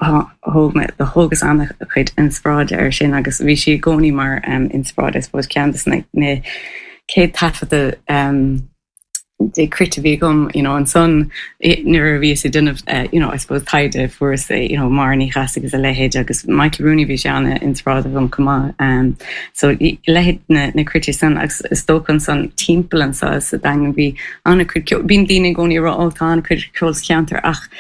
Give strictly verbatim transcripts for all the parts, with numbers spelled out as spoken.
Thóg mé thógas an-chuid inspioráide air sin agus bhí sí i gcónaí mar um, inspioráid I suppose ceann de na na céad taifeadta um, de cruit a bhí agam you know, ansan nuair a bhíos ag déanamh uh, you know, I suppose taighde fuaireas you know, Máire Ní Cheasaigh agus a leithéid agus Michael Rooney bhí sé an-inspioráideach dom chomh maith um, so leithéid na, na cruite san agus is dócha ansan timpeall anseo sa Daingean bhí an-chuid bíonn daoine i gcónaí rá ó tá an-chuid ceol sa cheantar ach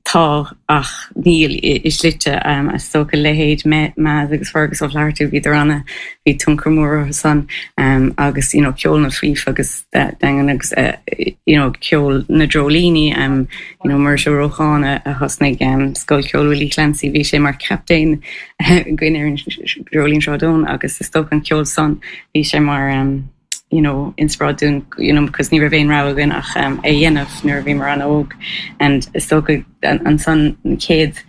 tá ach níl i slite um, is dócha leithéid Maz agus Fergus Ó Flatharta bhí anna bhí tionchar mór san um, agus you know, ceol na fíf agus Daingean agus uh, you know, ceol na dreoilíní um, you know, Muiris Ó Rócháin a thosnaigh um, Scoil Cheoil Willie Clancy bhí sé mar captaen againn ar an Dreoilín Sráid Eoin agus is dócha an ceol san bhí sé mar um, you know, inspioráid dúinn you know, because ní raibh aon rogha againn ach um, é dhéanamh nuair a bhíomar an-óg and is dócha ansan chéad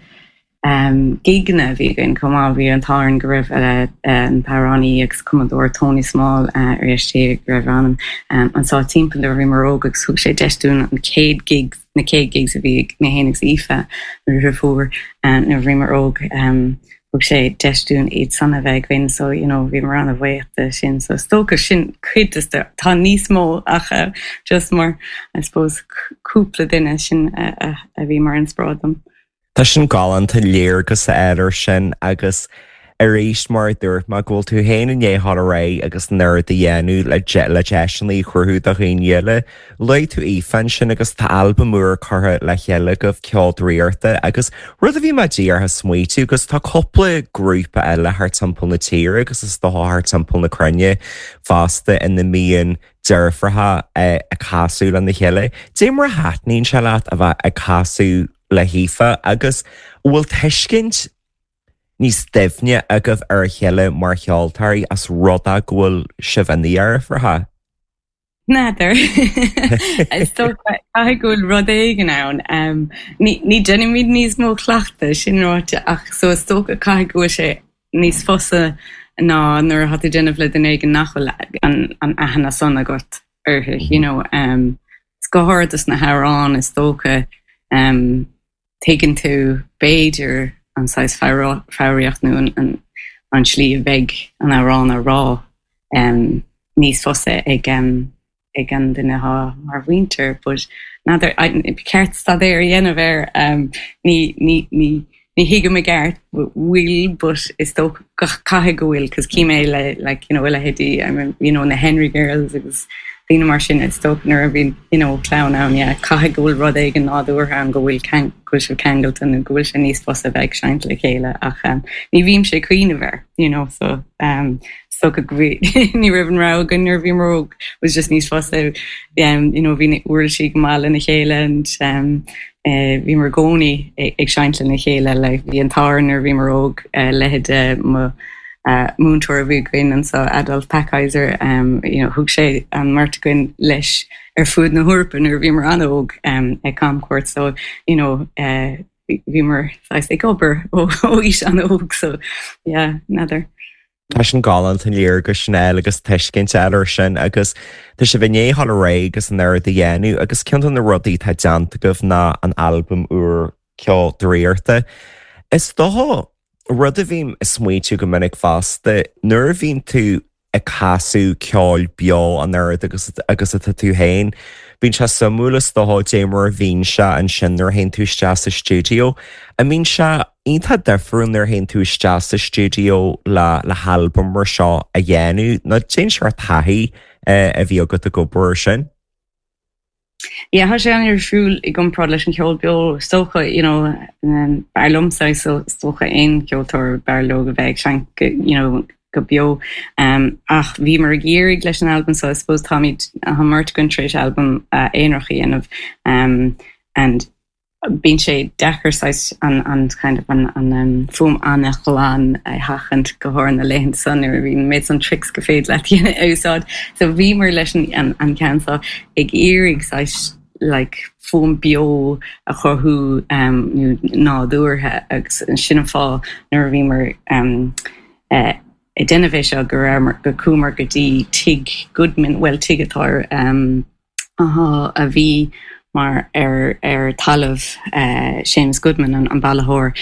um, giganna bhí againn chomh maith bhí an t-ádh go raibh uh, an t-amhránaí agus cumadóir Tony Small uh, ar éiste go raibh an um, anseo timpeall nuair a bhíomar óg agus thug sé deis dúinn an chéad gig na chéad gigs a bhí mé féin agus Aoife nuair a fuair um, nuair a bhíomar óg um, thug sé deis dúinn iad san a bheith againn so you know, bhí mar an-bhuíoch sin so is dócha sin cuid tá níos mó ach uh, just mar I suppose cúpla duine sin uh, uh, a bhí mar inspioráid dom. Tá sin galánta léargas air sin agus arís mar dúirt má bhfuil tú féin i ndiaidh dul ar aghaidh agus an oiread a dhéanamh le le deiseanna a chruthú do dhaoine eile. Luaigh tú Aoife ansin agus tá albam úr curtha le chéile agaibh Ceol Draíochta agus rud a bhí mé díreach ag smaoitiú agus tá cúpla grúpa eile thar timpeall na tíre agus is dócha thar timpeall na cruinne fosta ina mbíonn deirfiúracha ag casadh lena chéile. Dé mar a thaitníonn sé leat a bheith ag casadh le hAoife agus bhfuil tuiscint níos doimhne agaibh ar a chéile mar cheoltóirí as rud é go bhfuil sibh ina dheirfiúracha? N'fheadar caithfidh go bhfuil rud éigin ann ní déanaimid níos mó cleachta sin ráite ach so is dócha caithfidh go bhfuil sé níos fusa ná nuair atá tú déanamh le duine éigin nach bhfuil an an aithne san agat uirthi you know um, go háirithe sna hamhráin is dócha um, tuigeann tú b'fhéidir an saghas foghraíocht nó an, an, an slí a bheidh an amhrán á rá um, níos fusa ag um, ag an duine atá mar mhuintir, but n'fheadar ceart staidéar a dhéanamh air um, ní ní ní ní thuigim i gceart bhfuil but is dócha caithfidh go bhfuil cos cím é le like you know leithéidí I mean, you know na Henry Girls agus daoine mar sin is dócha nuair a bhíonn you know clann ann yeah caithfidh go bhfuil rud éigin nádúrtha ann go bhfuil go bhfuil sibh ceangailte nó go bhfuil sé níos fusa bheith ag seinnt le chéile ach um, ní bhím ag cuimhneamh air you know so um, so go ní raibh an rogha againn nuair a bhíomar óg was just níos fusa um, you know bhí uirlisí go maith lena chéile and um, uh, bhíomar i gcónaí ag seinnt lena chéile le bhí an t-ádh nuair a bhíomar óg uh, leithéid mo uh, múinteoir a bhí againn anseo Adolf Packheiser um, you know, thug sé an mbeirt againn leis ar fud na hEorpa nuair a bhíomar an-óg um, ag camchuairt so you know, uh, bhíomar ag obair ó aois an-óg so yeah, n'fheadar. Tá sin galánta an léargas sin agus tuiscint eile sin agus tá sibh i ndiaidh dul ar aghaidh agus an oiread a dhéanamh agus ceann de na rudaí atá déanta agaibh ná an albam úr Ceol Draíochta. Is dócha rud a bhím ag smaoitiú go minic fosta nuair a bhíonn tú ag casadh ceoil beo an oiread agus agus atá tú féin. Bíonn sé suimiúil is dócha dé mar a bhíonn sé ansin nuair a théann tú isteach sa stiúideo. A mbíonn sé iontach difriúil nuair a théann tú isteach sa stiúideo le le halbam mar seo a dhéanamh nó cén sórt taithí a bhí agat ag obair sin. Yeah, tá sé an-difriúil i gcomparáid leis an cheol beo is dócha you know, um, b'fhearr liomsa so is dócha aon cheoltóir b'fhearr leo a bheith ag seinnt you know, go beo um, ach bhíomar ag iarraidh leis an album so I suppose táimid an mbeirt againn tar éis album uh, aonarach a dhéanamh um, and bíonn sé deacair an, an kind of an, an um, fuaim an-ghlan a sheachaint go háirithe na laethanta san nuair bhíonn méid an tricks go féidir leat a úsáid. So bhíomar leis an, an, an ceann seo ag iarraidh like fuaim beo a chruthú um, nó nádúrtha agus sin an fáth nuair a bhíomar um, uh, ag déanamh é seo go go chuamar go dtí tigh Goodman well tigh atá um, aha, a bhí mar ar ar talamh uh, Seamus Goodman an, an bailitheoir